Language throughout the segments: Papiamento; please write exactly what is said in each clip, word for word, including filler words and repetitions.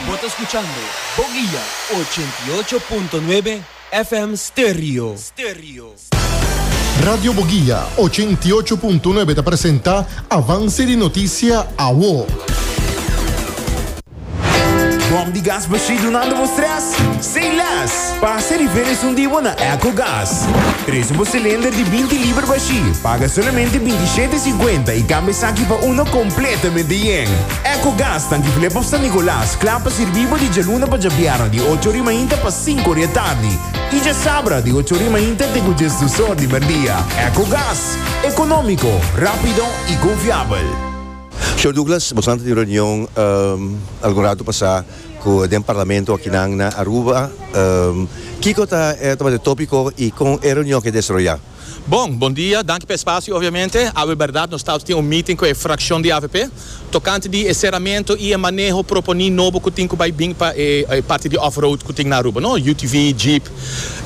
Bo ta scuchando Boguia ochenta y ocho punto nuebe F M Stereo. Stereo. Radio Boguia ochenta y ocho punto nuebe ta presenta Avance di Noticia Awo. Bom di gas bashí dunando bo stress? Say less! Pasa riba un dia na EcoGas. Tres un cilinder di binti liber bashí. Paga solamente binti siete cincuenta y cambia esaki pa uno completamente yen. EcoGas, tanki Flip of San Nicolas, cla pa sirbi di dialuna pa diabierna di ocho or di mainta pa cinco or di atardi. Y diasabra di ocho or di mainta te diesdos or di merdia. EcoGas, economico, rapido y confiabel. Señor Douglas, bo tabatin reunion um, algun rato pasa cu e parlamento aki na, na Aruba. Um, Kico ta e tema di topico y con e reunion a desaroya? Bon, bon dia, danki pa e espacio, obviamente. A berdad, nos tabatin un meeting cu e fraccion di A V P, tocante di ceramento y e maneho proponi nobo cu tin cu bay bin pa e, e parti di off-road cu tin na Aruba, no? U T V, Jeep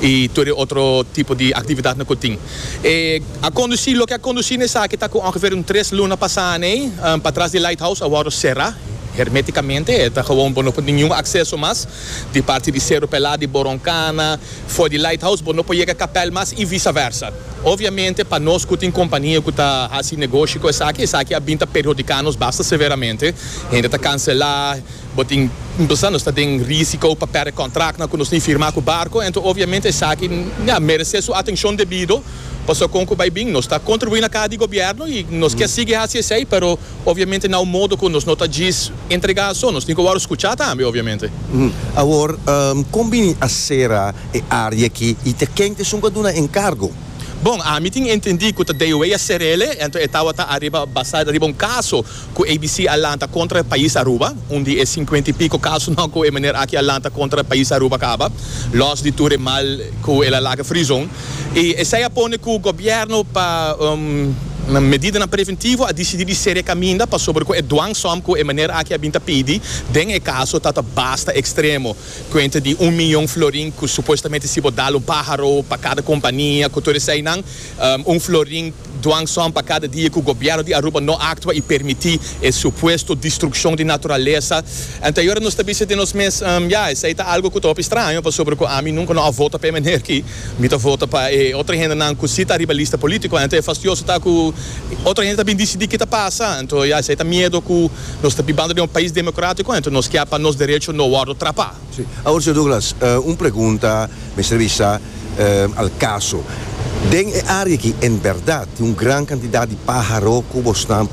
y tur otro tipo di actividad cu tin. E, a conduci, loke a conduci n'esaki ta cu ongeveer un tres luna pasa, ne, um, patras di Lighthouse, a wordo cera hermeticamente, ta gewoon no tin ningun acceso mas di parti di Cerro Pelado, di Boroncana, for di Lighthouse, no por yega Kapel mas y vice-versa. Obviamente, pa nos cu tin compania cu ta haci negoshi cu esaki, esaki a bin ta perhudica nos basta severamente. Hende ta cancela, bo tin, nos ta den risico pa perde contrato cu nos tin firma cu barco, anto obviamente esaki, ja, merece su atencion debido. Paso con cu bay bin, nos ta contribui na caha di gobierno y nos kier sigui haci esey, pero obviamente na un modo cu nos no ta djis entrega so, nos tin cu scucha tambe, obviamente. Uhum. Awor, um, con bin a cera e area aki y ta ken ta esun cu a duna encargo? Bon, ami tin entendi cu D O A a cer'e, anto tabata ariba basa riba un caso cu A B C a lanta contra pais Aruba, unda e cincuenta y pico casonan cu e meneer aki a lanta contra pais Aruba caba, los di tur mal cu el a laga Freezone. Y esey a pone cu gobierno pa um, medida preventivo a dicidi di cera caminda pasobra cu e dwangsom cu e meneer aki a bin ta pidi den e caso ta basta extremo, cuenta di un miyon florin cu supuestamente si bo dal un paharo pa cada compania cu tur eseynan, um, un florin dwangsom pa cada dia cu gobierno di Aruba no actua y permiti e supuesto destruccion di naturalesa. Anto awor nos ta bisa den nos mes, um, ja, esey ta algo cu ta straño, pasobra cu ami nunca no a vota pa meneer aki, mi ta vota pa eh, otro hendenan cu si ta riba lista politico, anto e fastidioso ta cu otro hende ta bin dicidi kico ta pasa. Anto ja, esey ta miedo cu nos ta bibando den un pais democratico, anto nos kier pa nos derecho no wordo trapa. Si. Awor, señor Douglas, uh, un pregunta, mester bisa, uh, al caso. Den e area aki, en berdad, tin un gran cantidad di paharo cu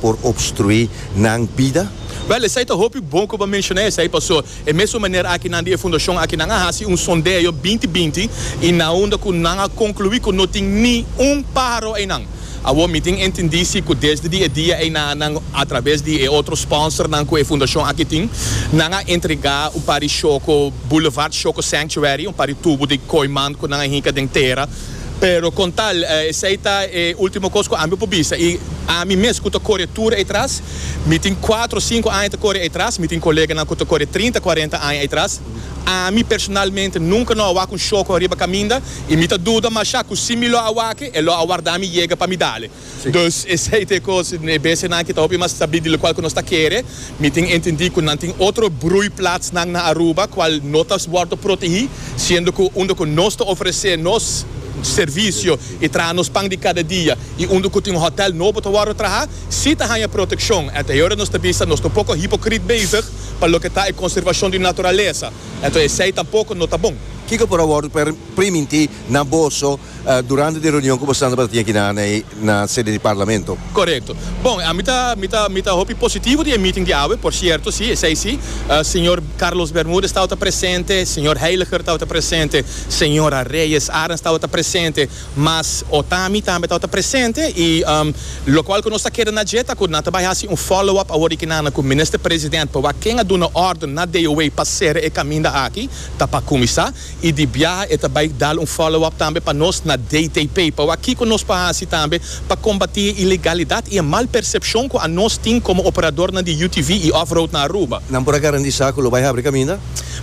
por obstrui nan bida? Wel, esey ta hopi bon cu bo a menciona esey, paso. E mesun manera aki nan di fundacion aki nan a hasi un sondeo binti binti y na unda cu nan a conclui cu no tin ni un paharo eynan. Awor mi tin entendi cu desde e dia ey nan atraves di otro sponsor nan cu e fundacion aki tin, nan a entrega un par di Shoco Boulevard Shoco Sanctuary, un par di tubo di kooiman cu nan a hinca den tera. Pero con tal, eh, esey ta e ultimo cos cu ami por bisa. Y ami mes cu ta core tur atras, mi tin cuater, cinco aña ta core atras, mi tin coleganan cu ta core trinta, cuarenta aña atras. Ami personalmente nunca no a wak un shoco ariba caminda y mi ta duda mas cu si mi lo a wak e, lo a warda mi yega pa mi dal e. Dus esey ta cos, e bestianan aki ta hopi mas sabi di loke cu nos ta kere. Mi tin entendi cu nan tin otro broeiplaats nan na Aruba, cual no ta wordo protegi, siendo cu unda cu nos ta ofrece nos servicio y traha nos pan di cada dia y unda cu tin un hotel nobo ta wordo traha, si ta haya proteccion. Anto awor nos ta bisa nos ta un poco hipocrita bezig pa loke ta e conservacion di naturalesa. Anto esey tampoco no ta bon. Kico por a wordo priminti na boso uh, durante e reunion cu bo tabatin aki na, na, na sede di parlamento? Correcto. Bon, ami ta, mi ta, mi ta hopi positivo di meeting di awe, por cierto, si, esey si. Uh, señor Carlos Bermudez tabata presente, señor Heiliger tabata presente, señora Reyes Arends tabata presente, mas Otami tambe tabata presente y um, loke cu nos ta kere na dje ta cu nan ta bay hasi un follow-up awor aki na cu minister president pa ken a duna orden na D O A pa cera e caminda aki, ta pa cuminsa, y di biaha e ta bay dal un follow-up tambe pa nos na D T P, pa aki cu nos pa hasi tambe pa combati ilegalidad y e mal percepcion cu nos tin como operador na di U T V y off-road na Aruba. Nan por a garantisa cu lo bay habri caminda?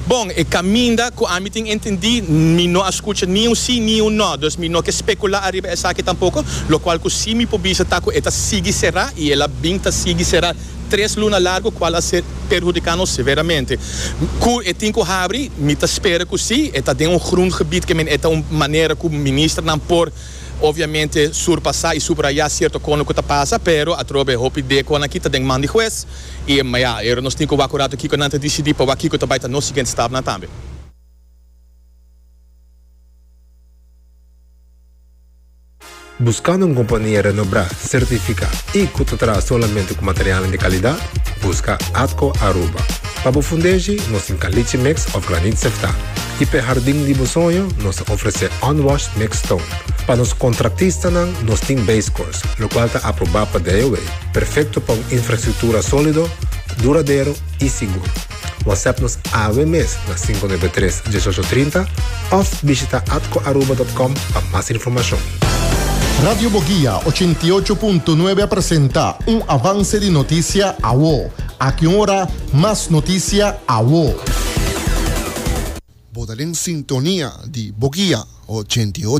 Bon, e caminda cu ami tin entendi, mi no a scucha ni un si ni un no, dus mi no kier specula ariba esaki tampoco. Loke cu si mi por bisa ta cu e ta sigui cera y el a bin ta sigui cera. Tres luna largo, cual a ser perhudica nos severamente. Cu e tin cu habri, mi ta spera cu si, e ta den un groengebied, kiermen e ta un manera cu ministernan por obviamente surpasa y subraya cierto cos cu ta pasa, pero atrobe hopi di cos aki ta den man di hues y ma ja, ero nos tin cu wak rato kico nan ta dicidi pa wak kico ta bay ta nos siguiente stapnan tambe. Buscando un compania renombra, certifica y cu ta traha solamente cu material di calidad? Busca Atco Aruba. Pa bo fundeshi, nos tin caliche mix of graniet sefta. Y pa jardin di bo soño, nos ta ofrece unwashed mixed stone. Pa nos contratistanan, nos tin base course, locual ta aproba pa D O W. Perfecto pa un infrastructura solido, duradero y sigur. WhatsApp nos awe mes na cinco nuebe tres diesocho trinta of bishita atcoaruba punto com pa mas informacion. Radio Boguia ochenta i ocho punto nuebe presenta un avance di noticia awo. Aki ora, mas noticia awo. Bo ta den sintonia di Boguia ochenta i ocho.